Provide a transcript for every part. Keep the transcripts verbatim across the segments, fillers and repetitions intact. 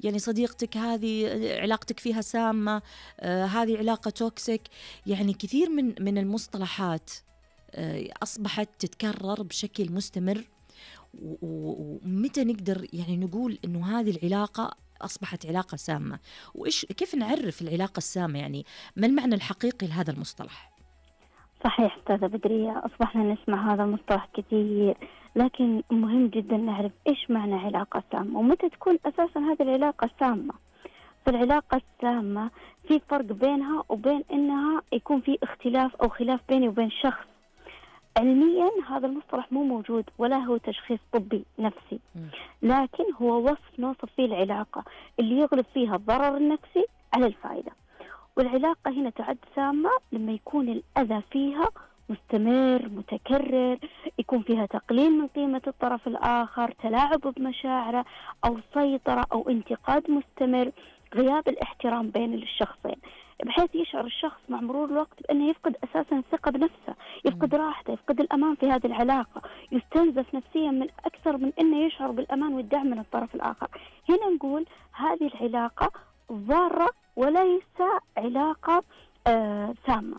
يعني صديقتك هذه علاقتك فيها سامة، آه هذه علاقة توكسيك. يعني كثير من من المصطلحات آه أصبحت تتكرر بشكل مستمر. ومتى نقدر يعني نقول إنه هذه العلاقة أصبحت علاقة سامة؟ وإيش كيف نعرف العلاقة السامة؟ يعني ما المعنى الحقيقي لهذا المصطلح؟ صحيح أستاذة بدرية، أصبحنا نسمع هذا المصطلح كثير، لكن مهم جدا نعرف إيش معنى علاقة سامة ومتى تكون أساسا هذه العلاقة سامة. فالعلاقة السامة في فرق بينها وبين إنها يكون في اختلاف أو خلاف بيني وبين شخص. علميا هذا المصطلح مو موجود ولا هو تشخيص طبي نفسي، لكن هو وصف نوصف فيه العلاقة اللي يغلب فيها الضرر النفسي على الفائدة. والعلاقة هنا تعد سامة لما يكون الأذى فيها مستمر متكرر، يكون فيها تقليل من قيمة الطرف الآخر، تلاعب بمشاعره أو سيطرة أو انتقاد مستمر، غياب الاحترام بين الشخصين، بحيث يشعر الشخص مع مرور الوقت بأنه يفقد أساسا الثقة بنفسه، يفقد راحته، يفقد الأمان في هذه العلاقة، يستنزف نفسيا من أكثر من أنه يشعر بالأمان والدعم من الطرف الآخر. هنا نقول هذه العلاقة ضارة وليس علاقة آه سامة.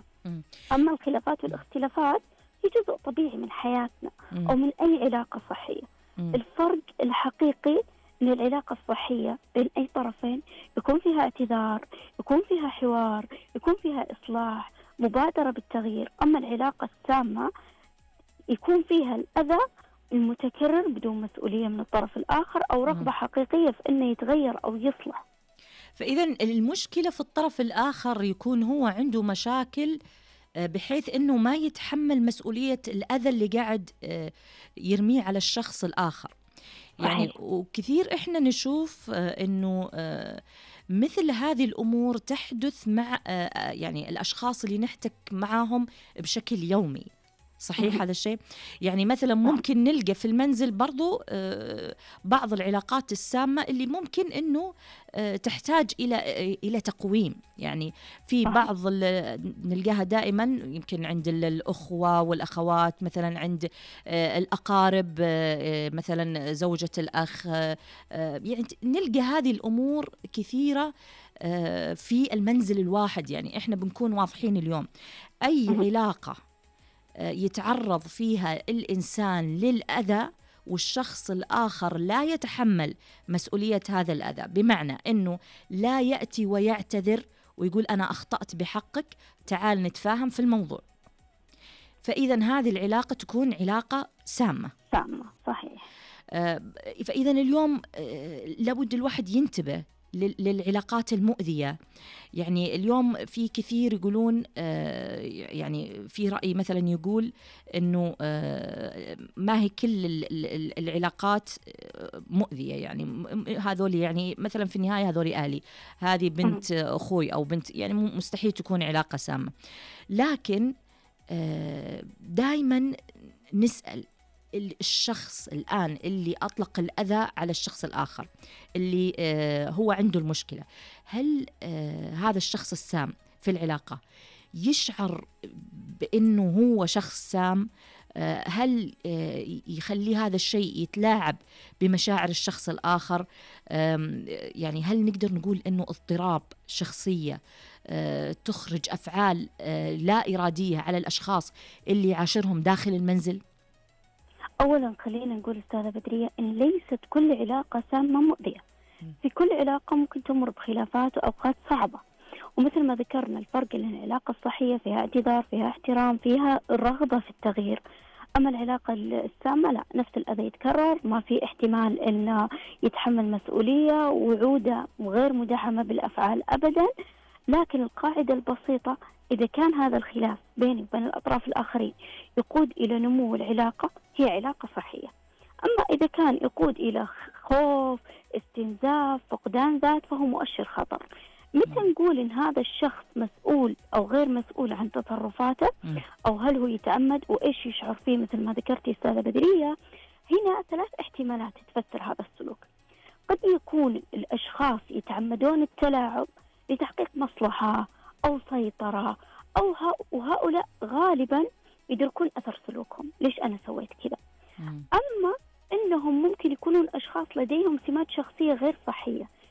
أما الخلافات والاختلافات هي جزء طبيعي من حياتنا أو من أي علاقة صحية. الفرق الحقيقي أن العلاقة الصحية بين أي طرفين يكون فيها اعتذار، يكون فيها حوار، يكون فيها إصلاح، مبادرة بالتغيير. أما العلاقة السامة يكون فيها الأذى المتكرر بدون مسؤولية من الطرف الآخر أو رغبة حقيقية في أنه يتغير أو يصلح. فإذا المشكلة في الطرف الآخر يكون هو عنده مشاكل بحيث أنه ما يتحمل مسؤولية الأذى اللي قاعد يرميه على الشخص الآخر. يعني صحيح. وكثير إحنا نشوف أنه مثل هذه الأمور تحدث مع يعني الأشخاص اللي نحتك معهم بشكل يومي. صحيح هذا الشيء؟ يعني مثلا ممكن نلقى في المنزل برضو بعض العلاقات السامة اللي ممكن أنه تحتاج إلى إلى تقويم. يعني في بعض نلقاها دائما يمكن عند الأخوة والأخوات، مثلا عند الأقارب، مثلا زوجة الأخ، يعني نلقى هذه الأمور كثيرة في المنزل الواحد. يعني إحنا بنكون واضحين اليوم، أي علاقة يتعرض فيها الإنسان للأذى والشخص الآخر لا يتحمل مسؤولية هذا الأذى، بمعنى أنه لا يأتي ويعتذر ويقول أنا أخطأت بحقك، تعال نتفاهم في الموضوع، فإذا هذه العلاقة تكون علاقة سامة. سامة صحيح. آه فإذا اليوم آه لابد الواحد ينتبه للعلاقات المؤذية. يعني اليوم في كثير يقولون آه يعني في رأي مثلا يقول إنه آه ما هي كل العلاقات مؤذية. يعني هذول يعني مثلا في النهاية هذول أهلي، هذه بنت أخوي أو بنت، يعني مستحيل تكون علاقة سامة. لكن آه دايما نسأل الشخص الآن اللي أطلق الأذى على الشخص الآخر اللي آه هو عنده المشكلة، هل آه هذا الشخص السام في العلاقة يشعر بأنه هو شخص سام؟ آه هل آه يخلي هذا الشيء يتلاعب بمشاعر الشخص الآخر؟ آه يعني هل نقدر نقول أنه اضطراب شخصية آه تخرج أفعال آه لا إرادية على الأشخاص اللي يعاشرهم داخل المنزل؟ أولا خلينا نقول أستاذة بدرية إن ليست كل علاقة سامة مؤذية. في كل علاقة ممكن تمر بخلافات وأوقات صعبة، ومثل ما ذكرنا الفرق بين العلاقة الصحية فيها اعتذار، فيها احترام، فيها الرغبة في التغيير. أما العلاقة السامة لا، نفس الأذى يتكرر، ما في احتمال إنه يتحمل مسؤولية، وعودة غير مدعمة بالأفعال أبدا. لكن القاعدة البسيطة، إذا كان هذا الخلاف بيني وبين الأطراف الآخرين يقود إلى نمو العلاقة، هي علاقة صحية. أما إذا كان يقود إلى خوف، استنزاف، فقدان ذات، فهو مؤشر خطر. متى نقول إن هذا الشخص مسؤول أو غير مسؤول عن تصرفاته، أو هل هو يتعمد وإيش يشعر فيه؟ مثل ما ذكرتي أستاذة بدرية، هنا ثلاث احتمالات تفسر هذا السلوك. قد يكون الأشخاص يتعمدون التلاعب لتحقيق مصلحة أو سيطرة، أو وهؤلاء غالبا يدركون أثر سلوكهم، ليش أنا سويت كذا. أما إنهم ممكن يكونون أشخاص لديهم سمات شخصية غير صحية،